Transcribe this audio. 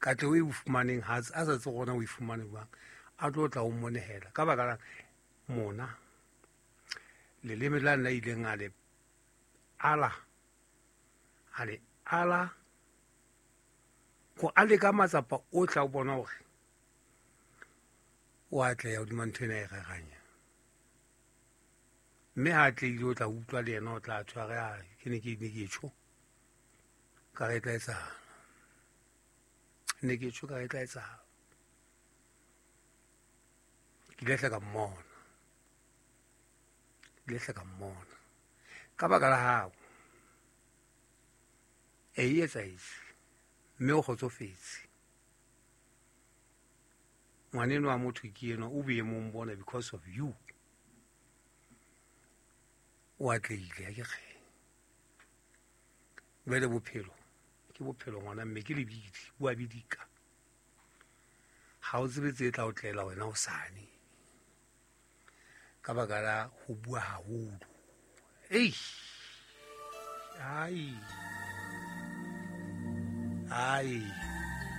Katleho e o fumaneng ha a sa tsebe gona o e fumane jwang, a tlo tla o monehela ka baka la mona leleme la nna ileng a le ala, a le ala go a leka matsapa otlhe a o bona gore o atleha hodima ntho ena e reranya, mme ha atlehile o tla utlwa le yena o tla tshware a ke ne ke ne ke tjho ka re e tla etsahala, ne ke tjho ka re e tla etsahala. Ke ile hle ka mmona, ke ile hle ka mmona ka baka la hao. E e etsahetse mme o kgotsofetse. Ngwaneno wa motho ke enwa o boemong bona because of you. O atlehile ha ke kge. Jwale bophelo ke bophelo ngwana mme ke lebidi, bo a bidika. Ha o tsebe tse tla o tlela wena hosane ka baka la ho bua haholo. Ei, ai, ai.